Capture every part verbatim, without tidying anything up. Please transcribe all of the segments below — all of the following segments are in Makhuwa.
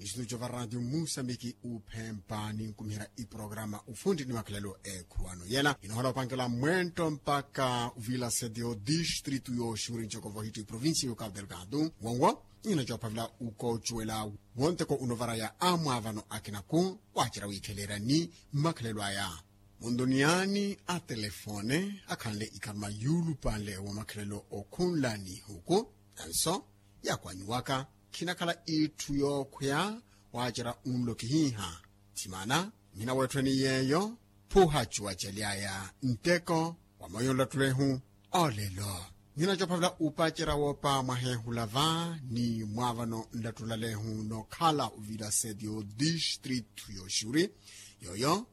Estudio va radio musambiki uphempa ninkumiherya iprograma ufundi ni makhalelo ekhuwano yela inohola opangela mwento mpaka uvila setio distritu yoxuri ncokovo hitu iprovincia yo cabo delgado. Wonwo nina coophavela ukocuwela wonteko unovaraya amwaavano akinaku wacerya wiikhelerya ni makhalelo aya. Muntuniyani a telefone akhanle ikharuma yuulupanle wa makhalelo okhunla ni ihuku. Nanso yaakwanyiwaka khinakhala itthu yookhweya. Waacerya unlo kihiiha thimana mhina weetthweni yeeyo phuha cuwacaly'aya nteko wa moyo nlattule-hu. Olelo ninacoophavela upacerya woopa mwaheehula va ni mwaavano nlattulale-hu nookhala uvila setio distritu yoxuri yooyo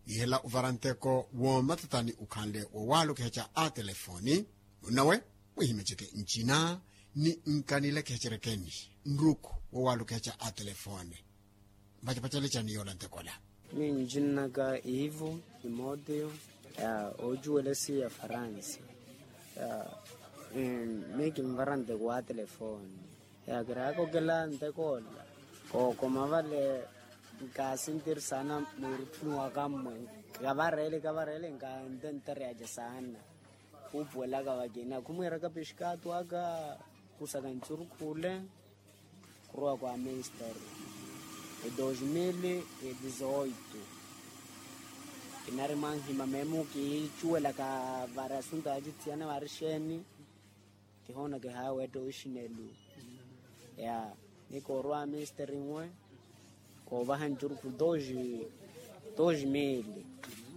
iihela uvara nteko woomatatani ukhanle wowaalukihaca a telefoni. Munnawe mwihimeceke ncina ni nkanilekihacerekeni nruku wowaalukihaca a telefoni. Mpacapacalecani yoola ntekola. Miyo ncinaka ivo timoteo ya ocuwelesi ya faransa ya mi kinvara nteko wa telefoni ya kiraakokela ntekoola kookoma vale. Nkaasintirisana mwiirutthuni waka mmwe kavareele kavareele nkantentereyaca saana khuupuwelaka vakina khumwiiraka pixikaatu aka khusaka ncurukhu ole khurowa kwa ministeri e dos mil e dizoito. Kinari mwanhima meemu kiicuwelaka vari asunto ya cithiyana vari xeeni kihoona kihaaweetta oxinelu ya ni koorwa a misteri nwe koovaha ncurukhu dos mil.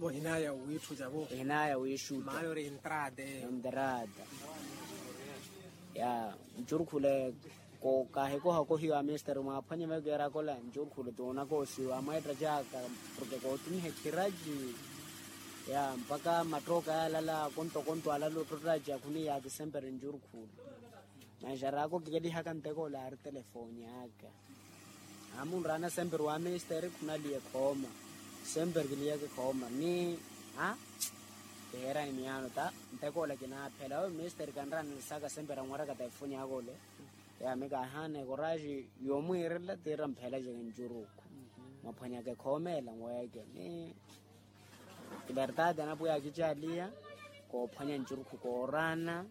Ohinaya wiitthu cavo ohinaya wiixuta maayori entrada ya ncurukhule. Kaahikoha kohiwa a misteri mwaaphwanye vayo keerakola ncurukhule toonaka osiwa amweetta caaka porke kootumiha ekhiraci ya mpaka mattoka yaalala kontokonto alala ottottaci akhuniya akisempere ncurukhule. Manxaraaka okikelihaka nteko ole aari telefoni aka amunraana semperi wa misteri khunaliya ekhooma semperi kiliyaka ekhooma ni a kiheerani miyaano ta nteko ole kinaaphela oyo misteri kanraana lisaka semperi anweraka telefoni aka ole. Yaami kaahaana ekoraxi yoomwiirela tiira mphela ceke ncuruku mwaphwanyaka ekhooma ela nweeke ni kivertati anapwiya akicaliya koophwanya ncurukhu kooraana.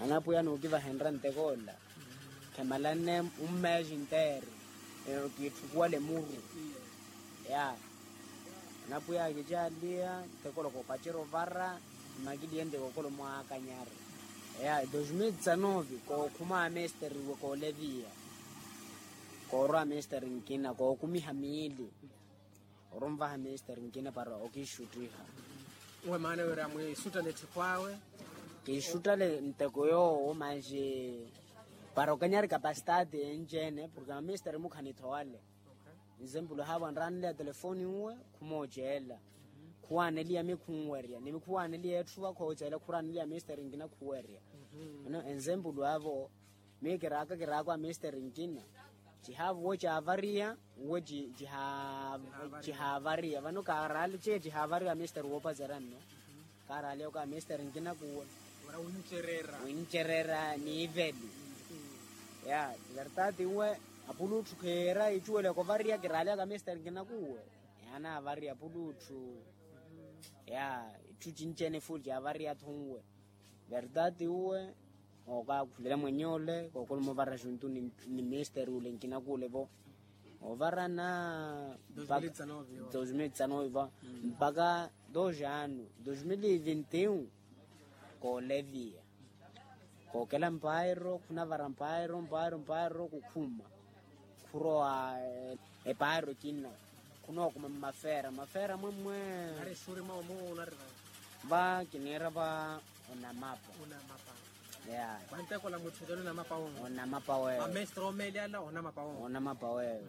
Anapwiya nuukivahenrya nteko ola khemalane ummeexi nteeri kiitthukuwale muru ya anapwiya akicaliya nteko ola koopacerya ovara. Mmakiliye nteko okolo mwaakanyari ya dos mil disanove kookhuma amesteriwe kooleviya koorwa amesteri nkina kookumiha miili. Orunvaha ministeri nkina para okiixuttiha. Uwe maana wira mwiixuttale etthiphu awe kiixuttale nteko yoowo manxi para okanyari kapasitaati enci-ene porke maministeri mukhanitho wale. Nzempulu haavo anraaneliya telefoni uwe khumooceela khuwaaneliya mi khunwerya ni mi khuwaaneliya etthu va khooceela khuraaneliya ministeri nkina khuwerya. Enzempulu avo miyo kiraaka kiraako a misteri nkina cihaavuwa caavariya uwe cihaavariya vano kaaraali ciya cihaavariya a misteri woopacerya nno kaaraali oko a misteri nkina kuwe wincererya niiveli ya vertati uwe apulutthu kheera icuweleka ovariya kiraali aka misteri nkina kuwe yaanaavariya apulutthu ya itthu cinci-ene fuli caavariya-tho nwe. Vertati uwe ookaakhulele mwenye ole kookhuluma ovara xuntu ni misteri ole nkina kuule vo ovarana dos mil disanove va mpaka dos ano dos mil vinti un kooleviya kookela mpairo khunavara mpairo mpairo mpairo kukhuma khurowa epaaro ekina khunookuma mmafeera mafeera mwemmwe. Ari exuri mwawo muwo unarira va kiniira va onamapa onamapa ya vantekola mutthu ecelo onamapa wowo onamapa wewe amestre omeeli ala onamapa wowo onamapa wewe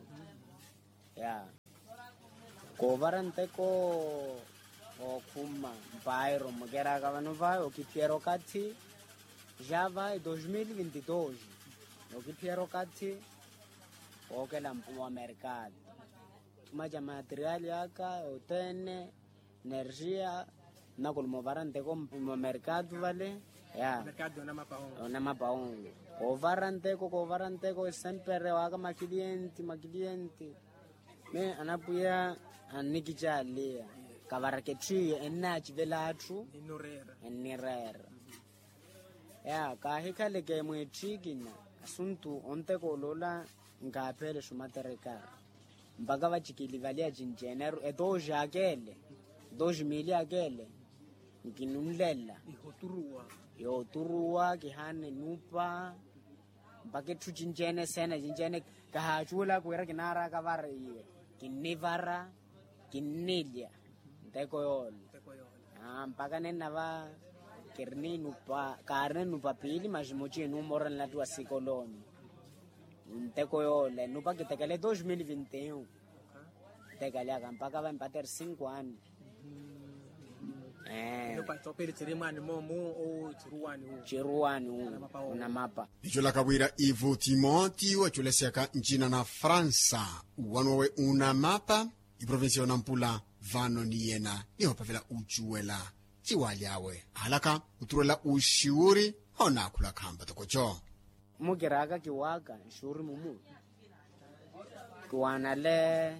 ya koovara nteko ookhuma mpairo mukeraka vano va okiphiyerya okathi ja va dos mil vinti dos okiphiyerya okathi wookela wa merkado thuma ca materiali aka otene energia nakulumo vara nteko mwa merkado vale Ya. Onamapa ongo. Koovara nteko koovara nteko esempere waaka makiliyenti makiliyenti. Me anapwiya annikicaaliya kavaraka etthu iyo ennaacivela atthu. Ennireera. Ya kaahikhaleke mweetthikina asuntu onteko oloola. Nkaaphelexa omatereka mpaka vacikilivaliya cinci eneru etooxi akele. Etooxi miili akele nkinunlela. Yooturuwa kihaana enupa mpaka etthu cinci-ene eseena cinci-ene. Kahaacuwelaka wira kinaaraka vara iye kinnivara kinnilya nteko yoola. Mpaka nennava kirina enupa kaarina enupa piili masi muci enuuma ora nlattuwa sikolooni. Nteko yoola enupa kitekale dos mil vinti un. Ntekale aka mpaka va empater cinco ano. Ee. Ciruwani wu unamapa. Nicolaka wira ivo timoti waculesyaka ncina na fransa uwani wawe unamapa. Iprovinsiya yonampula vano ni yena nihophavela ucuwela. Ciwaaly'awe ahalaka oturuwela uxiwuri. Hoonaakhula khampa tokoco. Mukiraka kiwaka nxuuri mumu kiwanale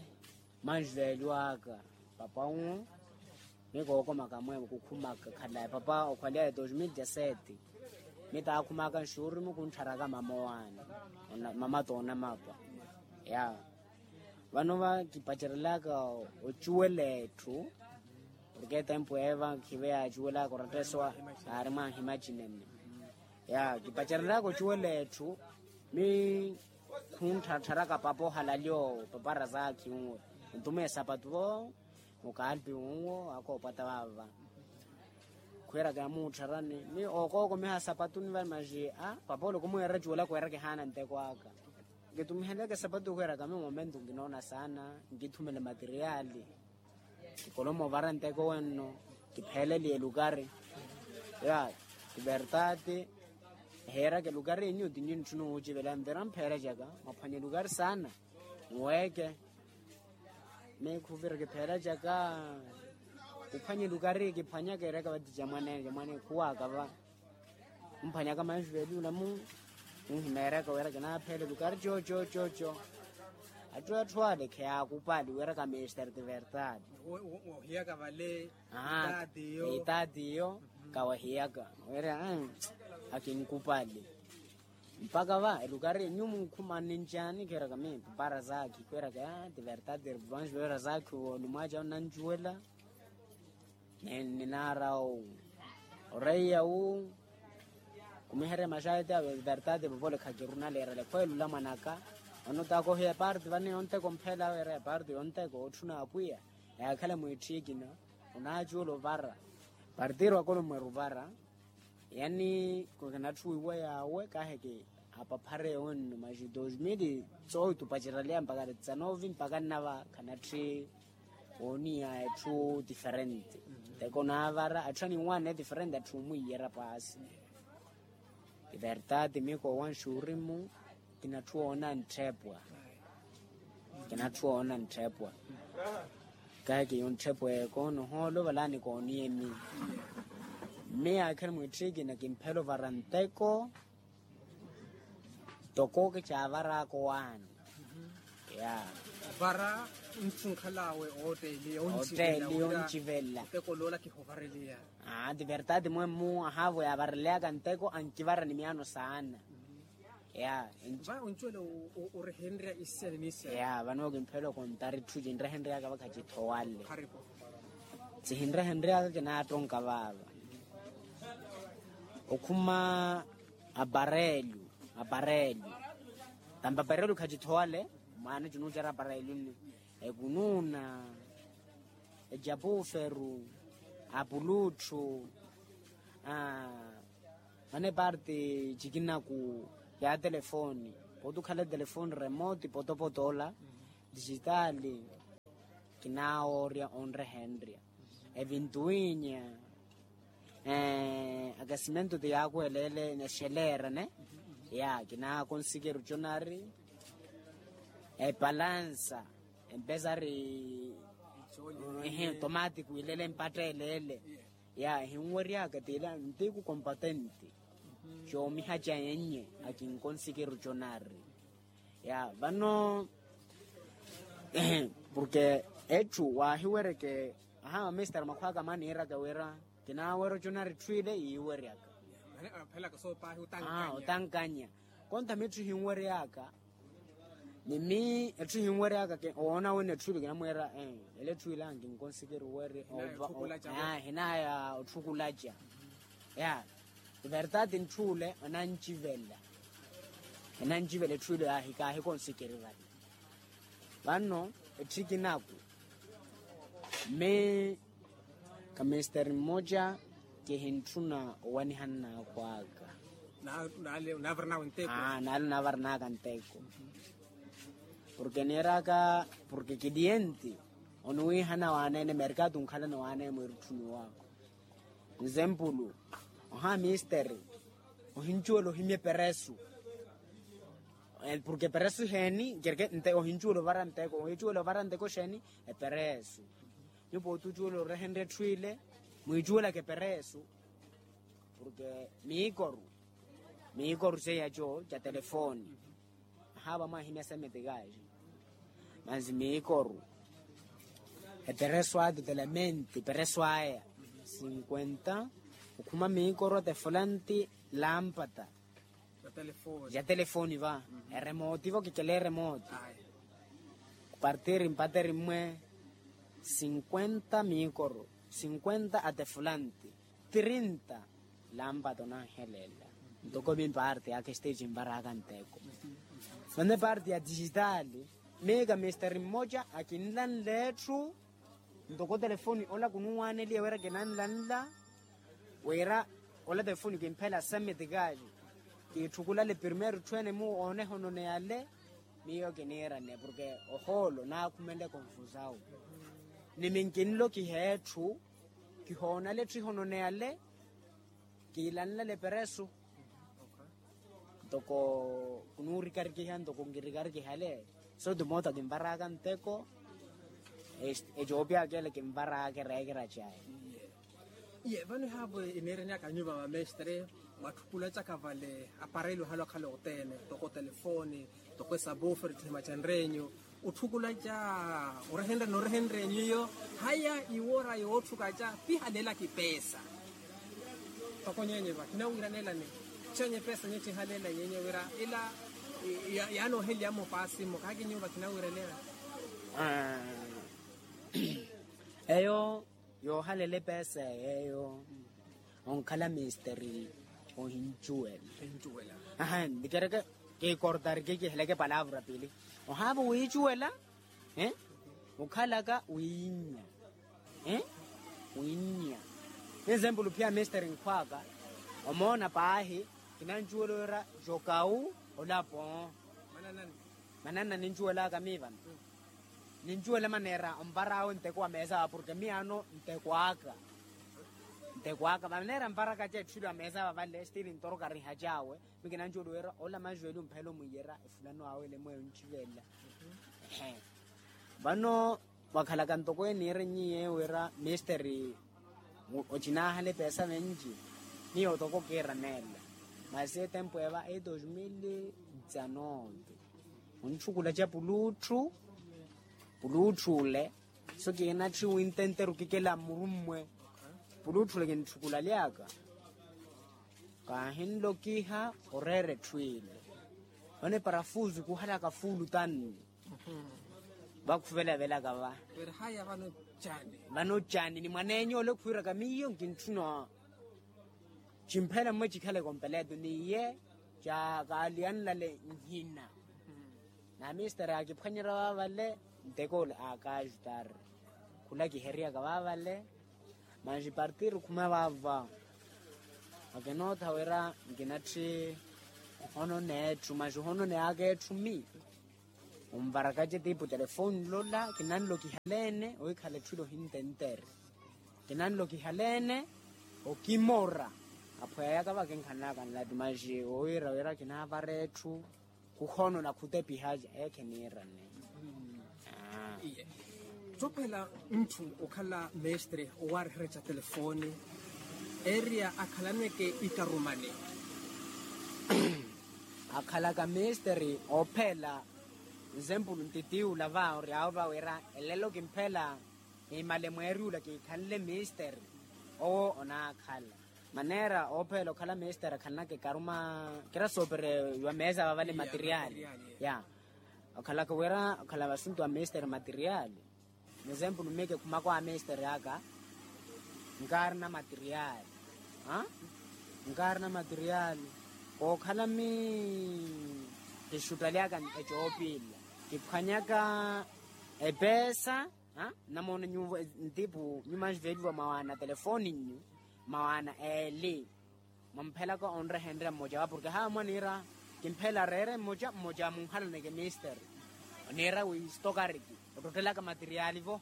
manxuveeliwaka. Papa nwo mi kookomaka mweevo kukhumaka khalayi papa okhwalyaye dos mil dezasete. Mi taakhumaka nxuuri mukuntharaka mama owaani mama toonamapa. Ya vano va kipacerelaka ocuwela etthu. Porke etempu eva khive yaacuwelaka oratta eso aari mwaahima cinene. Ya kipacerelaka ocuwela etthu mi khunttharattharaka papa ohalali owo papa razakhi unwe. Ontuma esapatu vo mukaalpi unwo akoopwata vava. Khwiiraka yamuuttharani ni ookookomiha sapatuni vale maxi a papa ole khumwiira cuwela khwiira kihaana nteko aka. Nkitumiheleke sapatu khwiiraka mi momentu nkinoona saana nkithumele materiali. Kikolomo ovara nteko wenno kipheeleliye elukari. Ya kivertati ehiiraka elukari enyu ti nyu ntthuna ohucivela nvira mpheerecaka mwaphwanya elukari saana. Nweeke mi khuvira kipheela caka. Kuphwanya elukari kiphwanyaka ereka vati jamwaneene jamwaneene khuwaaka va. Khumphwanyaka manxuveeli ulamu. Khunhimeeraka wira kinaapheela elukari co co co co. Atthu atthu ale kheyaakupali wira ka mestre de verdade. Wohiyaka vale. Itaati iyo kawahiyaka wira akinkupali. Mpaka va elukari enyu mukhumani ncaani khwiiraka mi papa razakhi khwiiraka ya ti verdade vanxuveeli razakhi wo ni mwaaca onancuwela. Ninaara oreiya wu. Kumiherya maxayi ti verdade vovole khakirunaleerela ekhweelula mwanaka. Vano takohiya parte vane yonteko mpheela weera ya parte yonteko otthuna apwiya. Yaakhala mwiitthikina onaacuula ovara. Partiru akolo mweru ovara. Yani kinatthuwiwa yaawe kaaheke apaphare onno maxi dos mil. Soowi tupaceraleya mpaka dezanove mpaka nnava khanatthi wooniya etthu diferente. Nteko naavara atthu aninwaane diferente atthu omwiiyerya paasi. Iverdade mi koowanxa urimu. Kinatthu woona nttheepwa. Kinatthu woona nttheepwa. Kahi kiyo nttheepwa eko nohoolo valani kooniyeni. Mme yaakhani mwiitthikina kimphela ovara nteko. Toko kicaavaraaka owaani. Ya vara ntthi onkhal'awe ootteeli oncivela. Ottteeli oncivela. Nteko loola kihovareliya. Aa ti verdade mwemmu ahaavo yaavareleyaka nteko ankivara ni miyaano saana. Ya va oncuwela orehenrya isiani ni isiani. Ya vano kimphela okontari etthu cinrehenryaka vakha cithowale. Cihinrehenryaka kinaattonka vaava. Okhuma aparelyu aparelyu. Tampaparelyu khacithowale. Mwaana cinuucera aparelyu nni ekunuuna. Ejapuferu apulutthu. Mane parte cikinaku ya telefoni. Pooti okhala etelefoni remote potopoto ola dijitaali. Kinaawoorya onrehenrya evintuwinya. Akasimento ti yaakuheleele nexeleera ne. Ya kinaakonsikeryo conari epalansa empesari. Tomati kwiileele empatteleele. Ya ehinweryaka tila ntiku kompatenti. Coomiha ca yennye akinkonsikiru conari. Ya vano porke etthu waahiweryeke. Aha mamesitari makhwaka maaniiraka wira kinaawerya oconari etthu ile yiiweryaka. Otankanya konta mitthu hinweryaka. Ni mi etthu hinweryaka owoona wina etthu ile kinamweera ele etthu ile ankinkonsikiru werya. Hinaya otthukulaca. Ya everdade ntthu ole onancivela. Enancivela etthu ile ahi kaahikonsikeri vale. Vano etthiki naku mi kamesteri mmoja kihintthuna owaniha nnaakhwaka. Naale onaavarnaka nteko. Porke niiraka porke kilienti oniwihana waaneene merkatu onkhalana waaneene mwiiruttuniwaka. Nzempulu oha misteri ohincuwela ohimya eperesu. Porke eperesu heeni kerke ohincuwela ovara nteko ohincuwela ovara nteko xeeni? Eperesu. Nyupo otucuwela orehenrya etthu ile mwiicuwelaka eperesu. Porke miikoru miikoru seiyaco ca telefoni. Ahaava mwaahimya semetikaxi mansi miikoru epereso aya totalamente epereso aya sinkwenta. Okhuma miikoru ata efulanti lampata ya telefoni va eremooti va okikela eremooti. Kupartiri mpateri mmwe sinkwenta miikoru sinkwenta ata efulanti trinta. Lampata onanhelela ntoko mi parte yaka esiteji nvaraka nteko. Mane parte ya dijitali mi kamisteri mmoja akinlanla etthu ntoko telefoni ola kunuwaaneliya wira kinanlanla wira ola telefoni kimphela semitikaji. Kiitthukulale primeiro etthu ene muwo oneha ononeyale. Miyo kiniirane porke ohoolo naakhumenle konfusawu ni minkinlokiha etthu kihoonale etthu ihononeyale. Kiilanlale eperesu ntoko kunuurikarikiha ntoko nkirikarikihale. Sotu moota kinvaraka nteko ecoopyaka ele kinvaraka ereekera caye. Iye vano ehaavo eniiranyaka nyuva mamestre mwatthukulacaka vale aparelho hale okhala othene ntoko telefoni ntoko esabufer thima ca nreenyu. Otthukulaca orehenrya noorehenrya enyu iyo haya iwora yootthukaca pihalela kipesa. Ntoko nyenye va kinawiranelani chenye pesa nyetthe ihaleela nyenye wira ila yaanooheliya mmo paasi mmo kaaki nyuva kinawiranelani. Eyo yoohalela epeesa yeeyo onkhala misteri ohincuwela. Aha ntikereke kikortari kikiheleke palavra pili ohaava wiicuwela. Okhalaka wiinya wiinya. Ezempulu pia misteri nkhwaka omoona paahi kinancuwela wira jokawu olapo. Mananna nincuwelaka mii vano nincuwela maneera onvar'awe nteko wa meesa awe porke miyaano nteko aka nteko aka maneera nvaraka ca etthu ile wa meesa awe avale stili ntorokariha cawe. Mikinancuwela wira ola majuweli omphela omwiyera efulano awe ele mweyo oncivelela. Vano wakhalaka ntoko eniirennyiye wira misteri ocinahala epeesa venci. Miyo toko kiiraneela masi etempo eva e dos mil dezanove. Ontthukulaca pulutthu pulutthu ole so kiinatthi wintenteru kikela mmurummwe. Pulutthu ole kintthukulaliyaka kaahinlokiha oreera etthu ile. Vano eparafusu kuhalaka fuulu tanni vakhuvelavelaka va. Vano cani ni mwaneenyu ole khwiiraka miyo nkintthuna. Cimphela mmwe cikhaleke ompeleto ni iye ca kaaliyanlale nhina. Na misteri aakiphwanyerya vaavale nteko ole aakaajutari khula kiheriyaka vaavale. Manji partiri khuma vaava akinootha wira nkinatthi ohononeya etthu manji ohononeyaaka etthu mi onvarakace tipu telefoni lola kinanlo kihaleene owikhala etthu ile ohintentere. Kinanlo kihaleene okimora aphweyaka vakinkhanaka nlati manji owiira wira kinaavara etthu. Khuhono na khutepiha eekhe niirane. Iye tsophela ntthu okhala mestre owaariherya ca telefoni Eria akhalaneke ikarumani. Akhalaka misteri oopheela. Nzempulu ntitiiwula va oryaawo va wira elelo kimpheela. Kiimale mweeriwula kiikhanle misteri. Owo onaakhala maneera oopheela okhala misteri akhalanaka ekaruma. Kira soopere wa meesa vavale materiali. Ya okhalaka wira okhala vasuntu wa misteri materiali. Muzempulu miyo kikhumaka wa misteri aka nkaarina materiali. Nkaarina materiali. Kookhala mi kixuttalyaka ecoopilla kiphwanyaka epeesa. Nnamoona nyuwo ntipu nyumanji veeliwa mawaana telefoni nyu mawaana eeli. Mwamphelaka onrehenrya mmoja wa porke haamwa niira kimpheela reere mmoja mmoja munhalaneke misteri. Niira wi stokariki ottottelaka materiali vo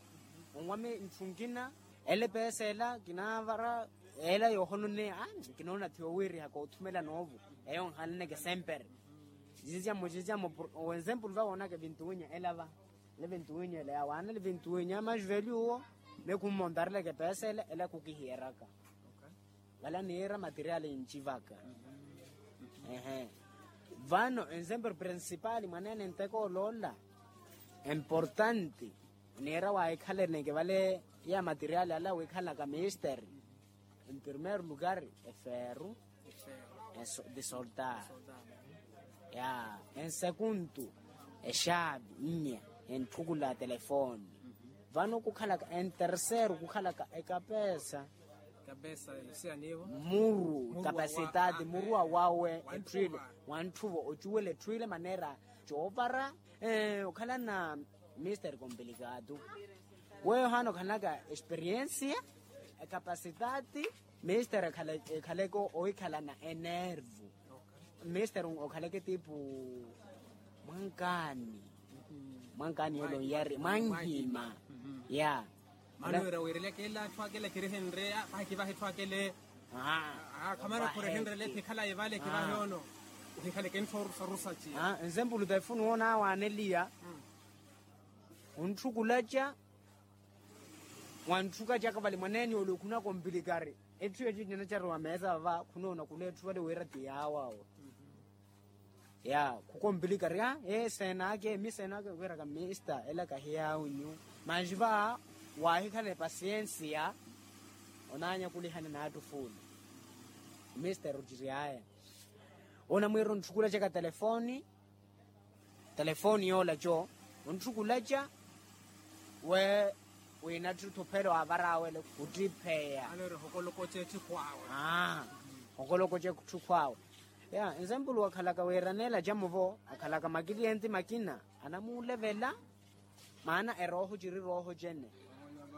onwami ntthu nkina. Ele peesa ela kinaavara ela yoohononneya. Kinoona thiyo wiiriha koothumela noovo eyo nhalaneke sempere. Ziziamo ziziamo. Wenzempulu va woonaka evintuwinya ela va. Ele vintuwinya ela yawaana ele vintuwinya majuvelyu uwo. Mekhummo ontareleke peesa ele ele khukihiyeraka. Vala niira materiali ncivaka. Vano ensempero principali mwaneene nteko oloola. Importanti niira waahikhaleneke vale ya materiali ala wiikhalaka misteri. En primeiro lugar eferu de soldar. Ya en segundu exaavi nnya entthukula telefoni. Vano kukhalaka en terceiro kukhalaka ekapesa. Muru kapasitati muru awawe etthwile. Wantthuvo ocuwela etthwile maneera coopara okhalana. Mister kompilikatu weyo haana okhalaka experiensia ekapasitati. Mister ekhaleke ohikhalana enervu. Mister okhaleke tipu mwankaani. Mwankaani yolo nyari mwanhima. Ya. Mano wira wiireleke ela atthu akele kirihenrye. Vahi kivahi etthu akele. Khamana khurehenrye ela etthi ekhalaye vale kivahi ono. Ohikhaleke nthu orusarusa ci. Ensempulu ta efunu woonawaaneliya. Ontthukulacya. Wantthukatyaka vale mwaneene ole okhunaka ompilikari. Etthu eyo cinacariwa meesa vava khunoona khula etthu vale wira ti yaawo awo. Ya khukompilikari a ee seenake mi seenake wira ka mista ela kahiyaawinyu. Manji va waahikhala epasiyensiya. Onaanyakulihana n'atthu fuula. Mista eruciry'aya onamwiira ontthukulacaka telefoni. Telefoni yoola co ontthukulacya. We wina atthu thuphelo aavar'awe ele khuttipheya. Okolokotya etthu khw'awe. Ya ensempulu akhalaka wiiraneela acamo vo akhalaka makiliyenti makina anamuulevela. Maana erooho ciri rooho cene.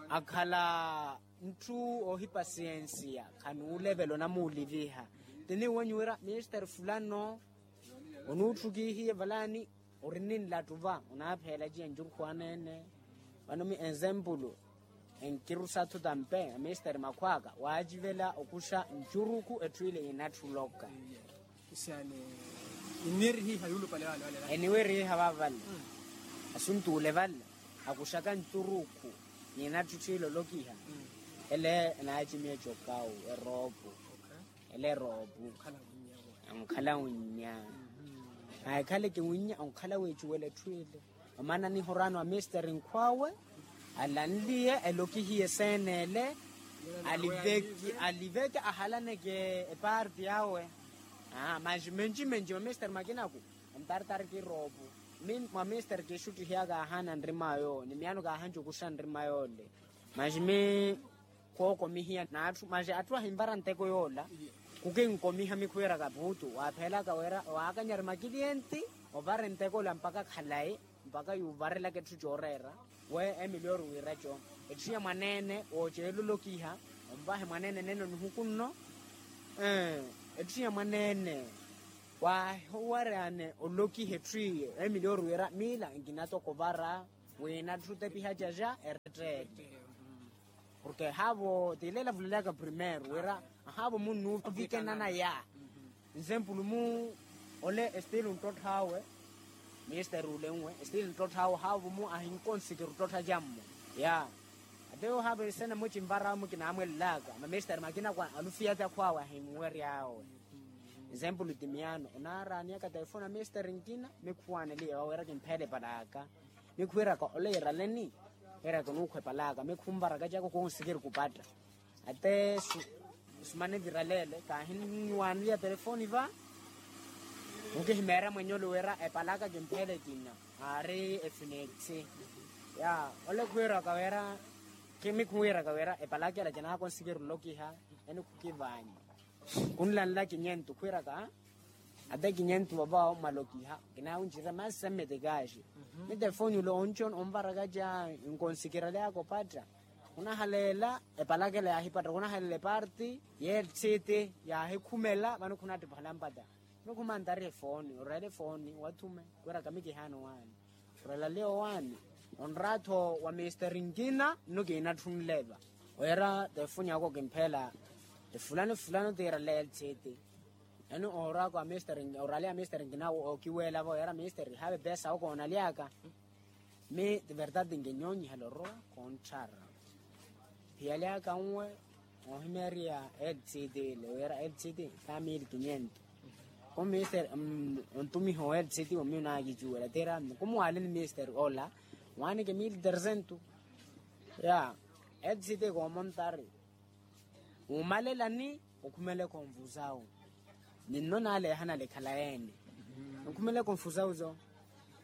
Akhala ntthu oohipasiyensiya khanuulevela onamuuliviha. Tiniiwenyu wira mister fulano onuutthukihiye valani ori ninlattu va onaapheela ciya ncurukhu aneene. Vano mi ensempulu enkirusa atthu tampe amisteri makhw'aka waacivela okuxa ncurukhu etthu ile yinatthuloka. Eniwerihiha vavale asuntuule vale akuxaka ncurukhu. Ninatthu etthu ile olokiha ele enaacimiya ecokawu eroopu. Ele eroopu ankhala unnya. Ahikhaleke winnya onkhala weecuwela etthu ile. Omaana nihoraano wa misteri nkhw'awe alanliye elokihiye eseen'ele. Aliveke ahalaneke epaarti awe. Manji menji menji mwa misteri makinaku. Ontartari kiroopu mwa misteri kiixuttihiyaka ahaana nrim'awe yoowo ni miyaano kaahanci okuxa nrim'awe yoole. Manji mi khookomihiya n'atthu manji atthu ahinvara nteko yoola. Khukinkomiha mikhuweraka puutu waapheelaka wira waakanyari makiliyenti ovare nteko ola mpakha khalayi mpakha yuuvarelaka etthu cooreera. We emiliyori wiiraco etthu ya mwaneene wooceelolokiha onvahe mwaneene nene onihuku nno. Etthu ya mwaneene waahiwaryane olokiha etthu iye emiliyori wiira miila nkinatoko ovara wina atthu otepiha caca eretteele. Porke haavo tiileela vulelayaka primeiro wira haavo munnuuvikenana ya. Nsempulu mu ole estilo nttotthawe. Misteri ulenwe estilo nttotthawe haavo mu ahinkonsikira ottottha cammo ya. Te ohaapesena mucinvarawe mukinaamwelelaka mamesteri makina kwa alufiyati akhwaawe ahimuwery'awe. Esempulu timiyaano onaaraaniyaka telefoni a mesteri nkina mikhuwaaneliye waweraka emphele palaka. Mikhuwiraka oleeraleni. Eraka onuukhwa epalaka mikhuwiraka caka okonsikiri kupatta. Ate sumane viraleele kaahinwaneliya telefoni va. Mukihimeera mwenye oluwira epalaka kimphele kina. Aari efinethi ya ole khuwiraka wira. Kimi khuwiraka wira epalaka ela kinaakonsikiri olokiha. Eni khukivanya khunlanla kinyentu khwiraka. Ate kinyentu vavawo mwalokiha kinaawunjira masemete kaxi. Ni telefoni ula onco onvaraka ca nkonsikira lyakopatta. Khunahaleela epalaka ela yaahipatta khunahaleela eparti yeetsiti yaahikhumela vano khunattipahala mpatta. Nukhumanthari efooni oreela efooni wathume. Khwira kamikihaani owaani orela leyo owaani. Onraatho wa misteri nkina nno kiinatthunleva. Wira tefooni ako kimphela efulano efulano tiira leyo etsiti. Eno oraka wa misteri oraleya misteri nkina okiweelava wira misteri haave pesa okoonalyaka. Mi ti verdade nkinyoonyiha loro. Konthara phiyali aka nwe ohimeeriya lcd lewira lcd. Ka mili kinyentu. Ko mister ontumiha o lcd omi onaakicuwela tira kumuwaleni mister ola. Waanike mili tersentu. Ya lcd koomontari. Wumalelani okhumele konfusawu. Ninno naaleehana likhala ene. Okhumele konfusawu so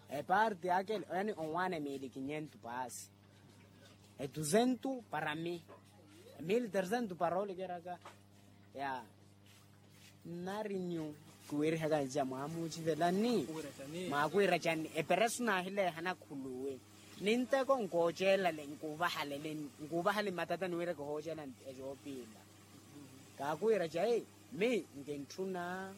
eparti akele yani onwaana emili kinyentu paasi. Edusentu para mi. Emili tersentu para olikeraka. Ya nari nyu kiwirihaka nja mwamucivelani. Mwakwira cani eperesu naahileehana khuluwi. Ninteko nkoocelale nkuvahalele nkuvahaleni matata niwireke ohoocela. Ecoopila kaakwira cayi. Mi nkintthuna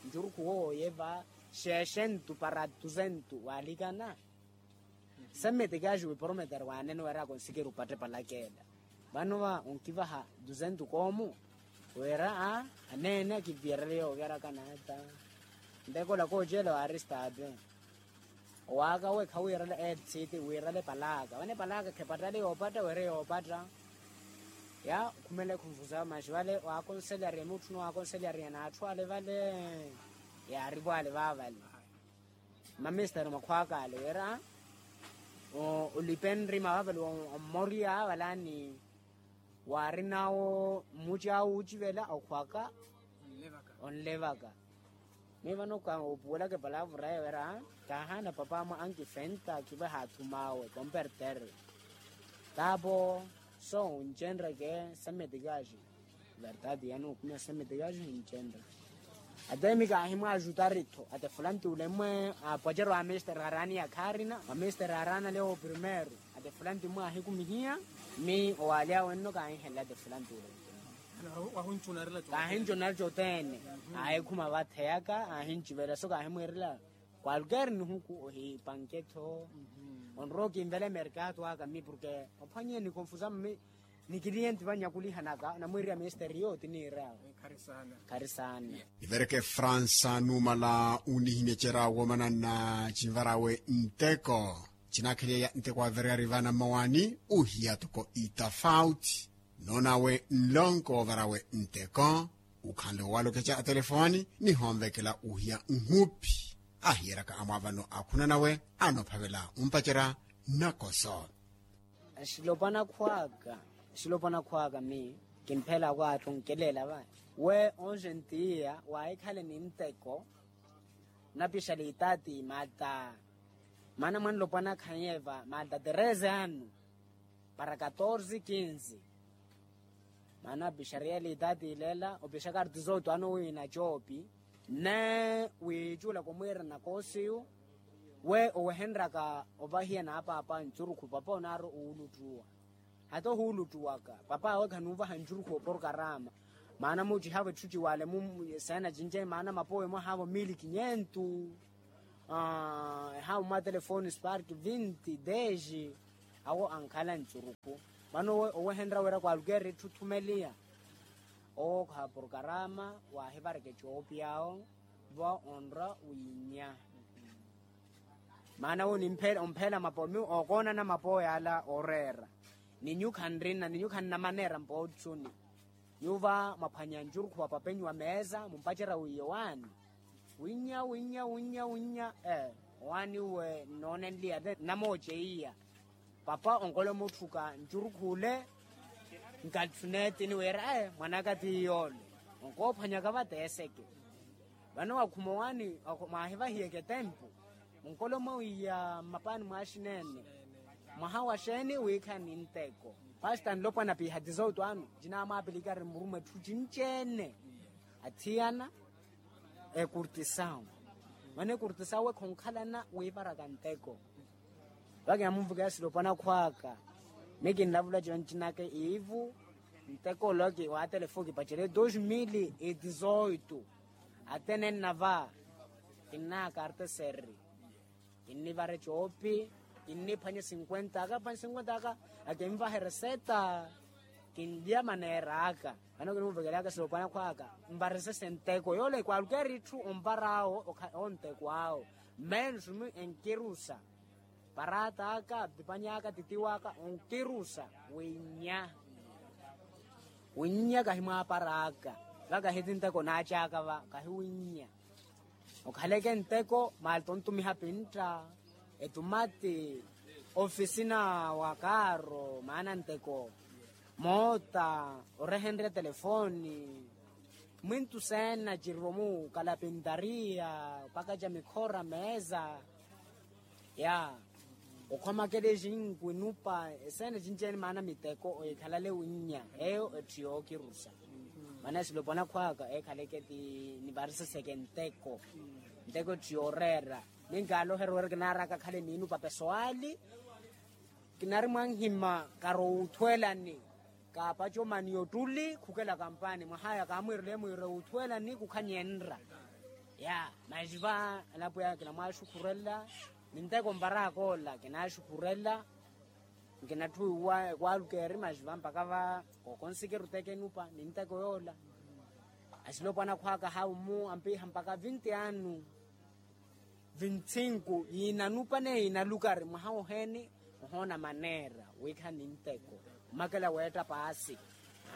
ncurukhu wooye va. Xeexentu para dusentu waalikana. Semmeti kaaxi wiporometere waanene wira konsikiri upatte palakela. Vano va onkivaha dusentu koomu wira a aneene akiviyerele yookeraka naata. Ntekola koocela wa aristape. Owaaka we khawiirale lcd wiirale palaka vane palaka khepattale yoopatta were yoopatta. Ya okhumele khunfusa maxi vale waakonselariya mutthu nowakonselariya n'atthu ale vale. Yaarivo ale vaavale. Mamistari makhwaaka ale wira olipe nrima vaavale ommoriya valani. Waarinawo mmuci awe wuucivela okhwaka onlevaka. Mi vano koopuwelaka epalavura eyo wira kaahaana papa amwe ankifenta kivaha athum'awe kompertere. Tapo so wuncenreke semeti kaaxi. Verdade yano okhumya semeti kaaxi wuncenreke. Ate mi kaahimwaaxutari-tho ate fulanti ule mmwe aapwacero a misteri araani ya khaarina a misteri araana lewo primeiro. Ate fulanti mmwe aahikumihiya mi owaalya wenno kaahihelela ate fulanti ule. Kaahincu nari cothene. Aahikhuma vatheyaka aahincivela so kaahimwiirela kwalker nihuku ohipanke-tho. Onrowa okinvela emerkato aka mi porke ophwanye nikonfusa mi nikiliyenti vanyakulihanaka namwiiriya misteri yooti niir'awe. Khari saana. Nivereke fransa numala unihimya cera woomana na cinvarawe nteko. Cinaakheliyeya nteko wavereyari vana mmawaani uhiya toko itafauti. Noon'awe nlonko woovarawe nteko ukhanle owalokeca atelefoni nihonvekela uhiya nhupi. Ahiyeraka amwaavano akhunanawe anophavela ompacerya nakoso. Axilopwana khwaka axilopwana khwaka mi kimphela akwaathu nkeleela vayi. We onxentiya waahikhala ni nteko. Napixa liitaati mata maana mwanlopwana khanyeeva mata tereze anu para katorze kinzi. Maana apixariye liitaati ileela opixaka artizooto ano wiina coopi. Nne wiicuula kumwiira nakosiyu we owehenryaka ovahiya n'apaapa ncurukhu papa onaari owuluttuwa. Hata ohuuluttuwaka papa awe khanuuvaha ncurukhu oporokarama. Maana mucihaavo etthu ciwale mu seena cinci maana mapowe mwahaavo mili kinyentu. Ehaavo mwa telefoni spark vinti deji. Awo ankhala ncurukhu. Vano owehenrya wira kwalukeri etthu thumeliya. Owo kha porokarama waahivareke coopiya awo. Vo onra wiinya. Maana wu nimpheela omphela mapowe miyo ookoonana mapowe ala ooreera. Ni nyuwo khanrina ni nyuwo khannamaneera mpoottuni. Nyuwo va mwaphwanya ncurukhu wa papenyu wa meesa mumpacerya wiiye waani. Winnya winnya winnya winnya. Owaani uwe nnoonenliya te nnamooceiya. Papa onkolomotthuka ncurukhu ole. Nkatthi neetini wira mwan'aka ti yoole. Onkoophwanyaka va teeseke. Vano wakhuma owaani mwaahivahiyeke tempu. Onkolomowiya mmapaani mwaaxineene. Mwaha wa xeeni wiikhala ni nteko. Pasta nlopwana piha tizoto ano. Ncinaamwaapilika ari murumwa etthu cinci-ene. Athiyana. Ekurtisawu. Mano ekurtisawu we khonkhalana wiiparaka nteko. Vaka yamunvukeya silopwana khwaka. Miyo kinlavula cino ncinaka iivu. Nteko ole waatelefu kipacerye dos mil e dizoito. Atene nnava. Kinnaakarteserri. Kinnivare coopi. Kinniphwanye sinkwenta aka phwanye sinkwenta aka. Akinvahe reseta. Kinlya maneera aka. Vano kinumvekelaka silopwana khwaka. Nvaresese nteko yoole kwaalukeeri itthu onvar'awo. Onteko awo. Mmene sumi enkirusa. Parata aka apipany'aka titiw'aka onkirusa. Winnya. Winnya kahi mwaapara aka. Vaka hiti nteko naac'aka va kahi winnya. Okhaleke nteko maali tontumiha pintta. Etumati. Ofisina wa kaaro maana nteko. Moota. Orehenrya telefoni. Mwintu seena cirvo mu kalapintariya. Pakaca mikhora meesa. Ya. Okhwamakela exinku enupa eseene cinci-ene maana miteko oikhalale winnya. Eyo etthu yookirusa. Maana esilopwana khwaka eekhaleke ti nivariseseke nteko. Nteko etthu yooreera. Ninkaaloherya wira kinaaraka khale niinupa pesoali. Kinari mwanhima karowa uthwelani. Kaapacomani ottuli khukela kampani mwahaya kaamwiirele mwiire uthwelani kukhanyenra. Ya. Maxiva anapweya kinamwaxukhurela. Ni nteko nvaraka ola kinaaxukhurela. Nkinatthuwiwa ekwaalukeeri maxiva mpaka va kookonsikiru teke enupa ni nteko yoola. Asilopwana khwaka haumu ampiha mpaka vinti anu. Vintsinku yiinanupa neye yiinalukari mwaha woheni. Ohoona maneera wiikhala ni nteko. Omakela weetta paasi.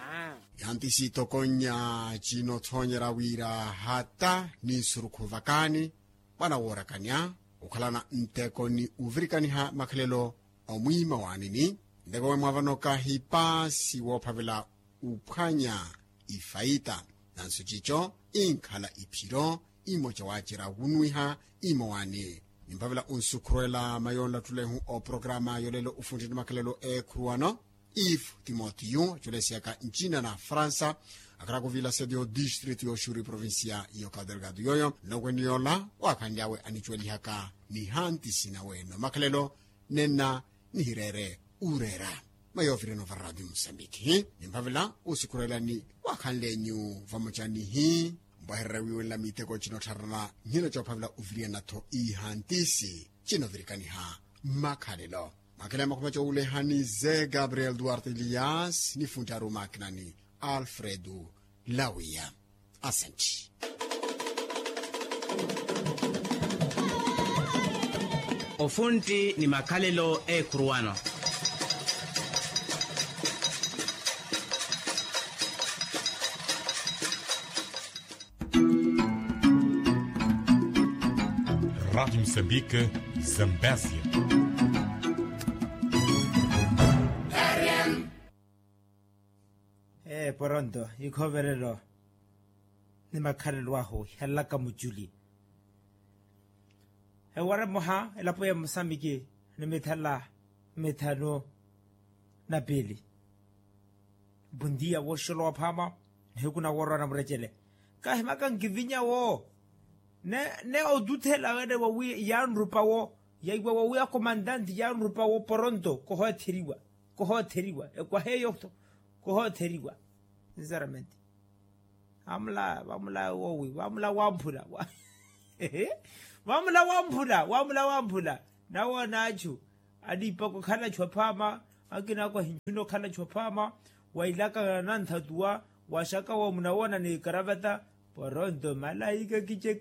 Aa. Yanti siitokonnya cinoothoonyerya wira hata ni nsurukhu vakaani. Mwana woorakanya okhalana nteko ni ovirikaniha makhalelo. Omwiima waanini nteko wemwavanoka hipaasi woophavela uphwanya ifaita. Nanso cico inkhala iphiro imoca waacerya wunwiha. Imowaani nimphavela onsukhurwela mayoonlattulehu oporokaramu yolelo ofuntti ni makhalelo eekhuruwano. Ifu timotiyu aculesiyaka ncina na fransa. Akharaka oviila sedio district yoxuri provincia yoka delgado yooyo nlokweni yoola waakhanly'awe anicuwelihaka ni hantisi nawe no makhalelo. Nenna nihireere ureera. Mayovireno va radio musambiki nimphavela usukhurelani waakhanlenyu vamocanihi. Mpwehererya wiiwenla miteko cinottharana nhina coophavela oviriyana-tho ihantisi cinovirikaniha mmakhalelo. Mwakhela ya makhuma cowulehani ze gabriel duarte elias ni funttaru makinani alfredu lawiya. Asanti. Ofuntti ni makhalelo eekhuruwano. Rádio Moçambique, Zambésia. Ee poronto ikhoverelo ni makhalelo ahu ihalelaka muculi. Ewara emoha elapo ya mosamiki ni mithala mithanu na piili. Bondia wooxolowa phaama nihiku na woorwa na murecele. Kahimaka nkivinya wo ne otuthela wene wawi yaanrupa wo yaiwa wawi akomantanti yaanrupa wo poronto kohotheriwa. Kohotheriwa ekwaha eyo-tho kohotheriwa. Sinceramente vamula vamula wowi vamula wamphula. Vamula wamphula vamula wamphula. Nawoona achu aliipaka okhala achu aphaama akina ako ahinchuna okhala achu aphaama. Wailaka nanthatuwa waxaka wo munawoona ni ikaravata. Poronto malaika kicheke.